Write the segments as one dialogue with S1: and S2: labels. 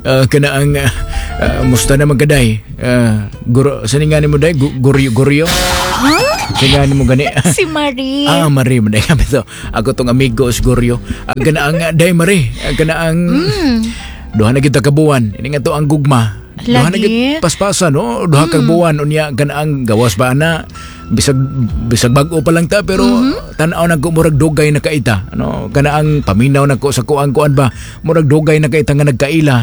S1: Kana ang musta naman ka, day? Guro sa nga nimo, day? Guryo, guryo.
S2: Huh?
S1: Sa nga nimo gani?
S2: Si Marie.
S1: Ah, Marie, man day kami to. Ako tong amigo si Guryo. Kana ang day, Marie. Kana ang duha na kita ka buwan. Ini nga to ang gugma. Duha na
S2: Lagi.
S1: Gid paspasan, no? Duha ka buwan unya kana ang gawas pa na bisag bisag bag-o pa lang ta, pero tan-aw na ko murag dugay na kaita. Ano, kana ang paminaw na ko sa kuang kuan ba, murag dugay na kaita nga nagkaila,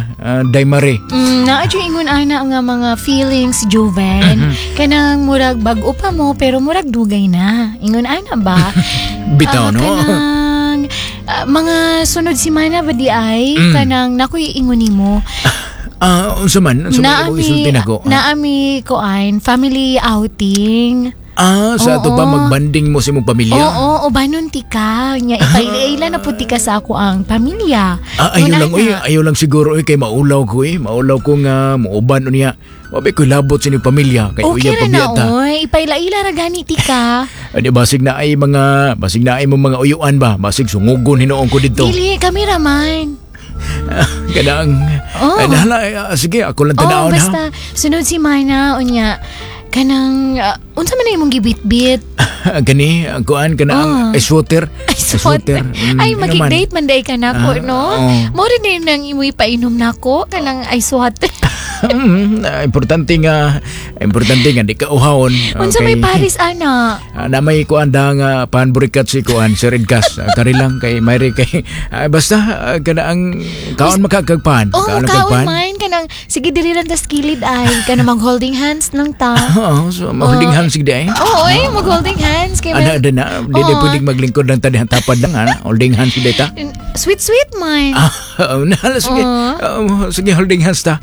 S1: day Marie.
S2: Naa jud ingon ana nga mga feelings, Joven. Kanang murag bag-o pa mo pero murag dugay na. Ingon ana ba?
S1: Bitaw,
S2: Ah,
S1: no?
S2: kanang mga sunod simana ba di ay kanang nakoy ingon nimo.
S1: Ah, unsa man imong isulti nako?
S2: Naa mi kuan, family outing.
S1: Ah, sa ato pa magbanding mo sa imong pamilya?
S2: Oo, ubanon tika. Nya ipaila na pud tika sa ako ang pamilya.
S1: Ah, ayaw
S2: Ingon
S1: lang,
S2: ana.
S1: uy, ayaw lang siguro, uy, kay maulaw ko, eh. Maulaw ko nga muuban unya. Wabi ko labot sa inyong pamilya kay
S2: Okay
S1: uya
S2: ra na,
S1: pabiyata.
S2: oy. Ipaila-ila ra gani tika.
S1: Adi basig na ay mo mga uyuan ba? Basig sungugon hinuon ko dito.
S2: Dili, kami ra man.
S1: Kanang
S2: Oo.
S1: ay, nahala, sige, ako lang
S2: Oh,
S1: tanawon ha.
S2: basta sunod simana unya kanang unsa man na imong gibitbit?
S1: Gani, ang kuan kanang ice water.
S2: Ice water. Ay,
S1: Ano man.
S2: magig-date man day ka nako,
S1: Ah,
S2: no?
S1: oo.
S2: Mo rin din nang imoy painom nako kanang ice water.
S1: Importante nga di ka uhawon.
S2: Unsa may Paris ana?
S1: Ah, na may kuan da nga panburikat si kuan si Redgas. Kari lang kay Mary kay basta kana ang kaon makakagpan.
S2: Oh,
S1: Kaon
S2: kaon
S1: makagpan.
S2: man kanang sige diri lang tas kilid ay kanang mag holding hands lang ta.
S1: Oo, so holding hands gid ay.
S2: Oo, eh, mag holding hands kay
S1: Ana na di di pwedeng maglingkod lang tadi tapad lang ana, holding hands gid ta.
S2: Sweet sweet man.
S1: Ah, na sige.
S2: Oo.
S1: Sige, holding hands ta.